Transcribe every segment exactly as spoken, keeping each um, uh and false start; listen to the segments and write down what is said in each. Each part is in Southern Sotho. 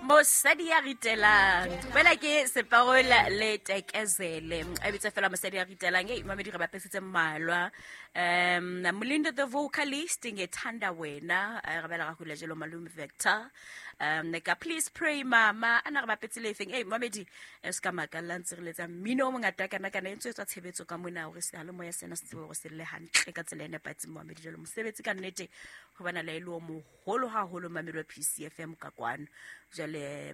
Mosadi ya ritelang fela ke separola le tekezele a bitsa fela mosadi ya ritelang e mamedi re bapesitse mmalwa um Molindo the vocalist ngethanda wena re bela ga hula jelo malume Vector um ka please pray mama ana re bapetse le feng e mamedi e ska makalla ntse re letsa mmino o mongata kana kana e ntse tswa tshebetso ka mona hore se le moya sena se tsebe hore se le hantle ka tsela e nepahetseng mamedi jelo mosebetsi ka nnete ho bana le lo moholo haholo mamedi wa P C F M ka kwano jale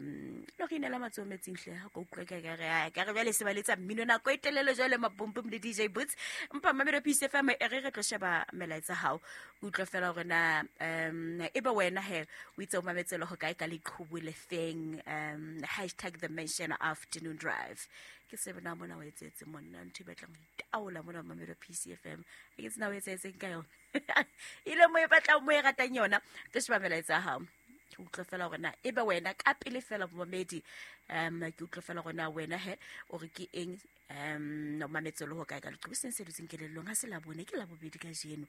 lo re inela matsoho metsing hle ha ko utlwe ka re ka re jwale se ba letsa mmino nako e telele jwale mapompom le D J Boots mpa mamedi wa P C F M e re re tlo sheba melaetsa hao utlwe fela hore na um e be wena he o itse o mametselo ho kae ka leqhubu le feng um hashtag the mention afternoon drive ke se bona mona o etsetse monna ntho e batlang ho itaola mona mamedi wa P C F M ke tsena o etsetseng ka yona ile mo e batlang mo e ratang yona tlo sheba melaetsa hao ke utlwe fela hore na ebe wena ka pele fela momedi um ke utlwe fela hore na wena he o re ke eng um o mametselo ho kae ka leqhubu seng se dutseng kelellong ha se la bone ke la bobedi ka jeno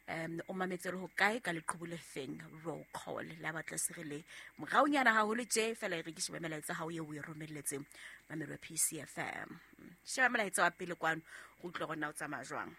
um o mametselo ho kae ka leqhubu le feng roll call la batla se re le moraonyana haholo tje fela e re ke shebe melaetsa hao eo o e romelletseng mamelo wa P C F M sheba melaetsa wa pele kwano go utlwe hore na o tsamaya jwang.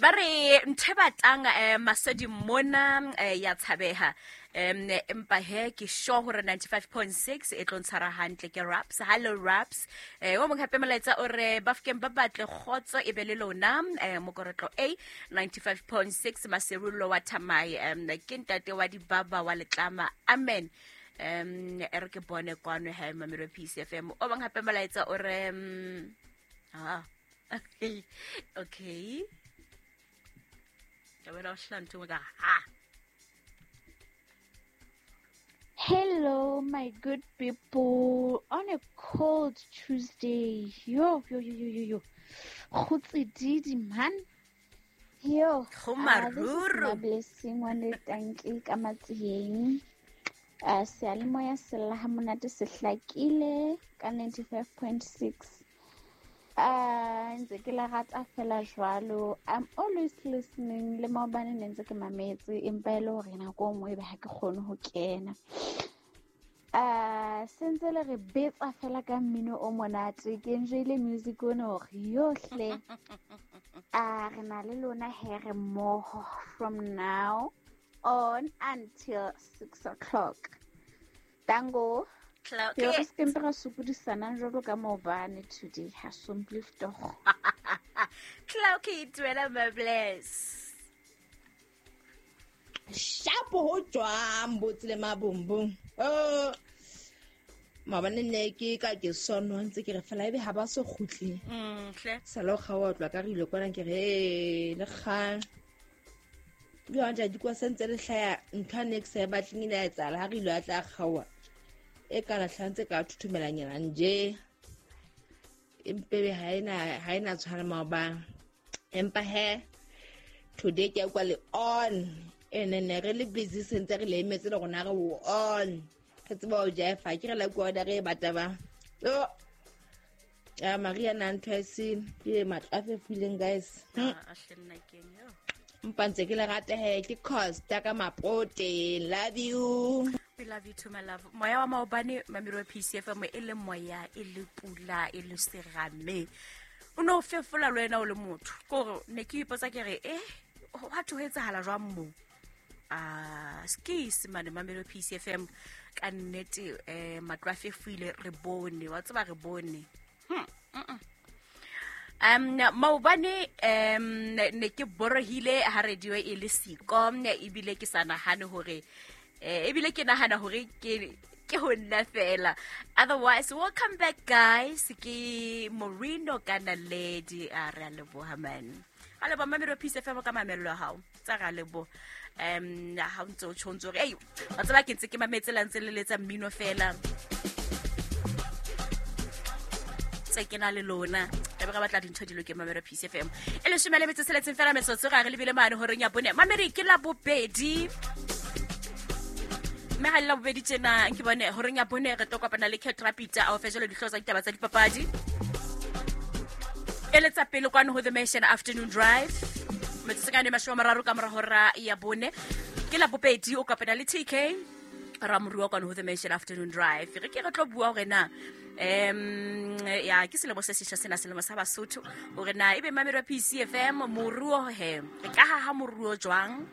Ba re ntho e batlang eh, masedi mona eh, ya tshabeha um empa he ke sure hore ninety-five point six e tlo ntshwara hantle ke Raps. Hello Raps eh o mong hape molaetsa o re Bafokeng ba batle kgotso e be le lona eh mokorotlo A ninety-five point six Maserullo wa Thamai um ke ntate wa dibaba wa letlama amen um e re ke bone kwano he mamelo P C F M o bang hape molaetsa o re um, ah okay Hello, my good people. On a cold Tuesday. Yo, yo, yo, yo, yo, yo. Khutsididi, man. Yo. Uh, this is my blessing. One thank you. Ka matsieng. Uh, seyalemoya se lla ha monate se hlakile ka ninety-five point six. Uh, ntse ke la rata fela jwalo. I'm always listening le maobane ne ntse ke mametse empa e le hore nako e nngwe ebe ha ke kgone ho kena. Uh, sentse le re betsa fela ka mmino o monate ke enjoyile music ona hore yohle. Uh, re na le lona he re mmoho from now on until six o'clock. Tango. Okay. Ke re se ra sokodisana jwalo ka maobane today ha sompliftogo. Clocky duela my bless. Shapo ho jwang botsile mabumbung. Oh maobane ne ke ka ke sono ntse ke re fela ebe ha ba so kgutle. Mm hle. Sala o kgaoa tlwa ka re ile kwana ke re le kgang. Yo anja di kwa sentse le hlaya ntho ne ke sa batleng ile ya tsala ha re ile a tla kgaoa. E kana hlantse ka thuthumelanyana nje empebe ha ena ha ena tshwana maobane empa he today ke kwa le on ene ne re le busy sentse re le emetse le rona re o on re tseba o jaifa ke re la kwa order e bata ba yo ya Maria na ntho e se ke matla a fefileng guys a hlenna keng yo mpa ntse ke le rata he ke cost ka mapote love you. We love you too, my love. Moya wa maobane mamelo wa P C F M e le moya e le pula e le serame. O no fefola le wena o le motho. Kore ne ke ipotsa ke re eh wa tho etsahala jwang mo? Ah, skis mane mamelo P C F M ka nnete eh matlo a fefile re bone wa tseba re bone. Hmm. Mm. Um maobane um ne ke borohile ha radio e le siko ebile ke sa nahane hore eh ebile ke nahana hore ke ke ho nna fela. Otherwise welcome back guys ke Morino kana lady a re a leboha man. A leboha mamelo P C F M ka mamello ya hao tsa ra leboha um ha o ntse o tshwantse hore ei wa tseba ke ntse ke mametse la ntse le letsa mmino fela tse ke na le lona e re batla dintho di loke mamelo P C F M e leshome le metso tsheletseng fela metsotso ga re lebile mane horeng ya bone mamedi ke la bobedi mme ha le la bobedi tjena ke bone horeng ya bone re tlo kopana le Cat Rapita a o fe jalo dihlooho tsa ditaba tsa dipapadi. Eletsa pele kwano ho The Nation Afternoon Drive. Metsotso e mashome a mararo ka mora hora ya bone. Ke la bobedi o kopana le T K Ramorua kwano ho The Nation Afternoon Drive. Re ke re tlo bua hore na em ya ke selemo se sesha sena, selemo sa Basotho, hore na ebe mamelo ya P C F M moruo he re ka haha moruo jwang.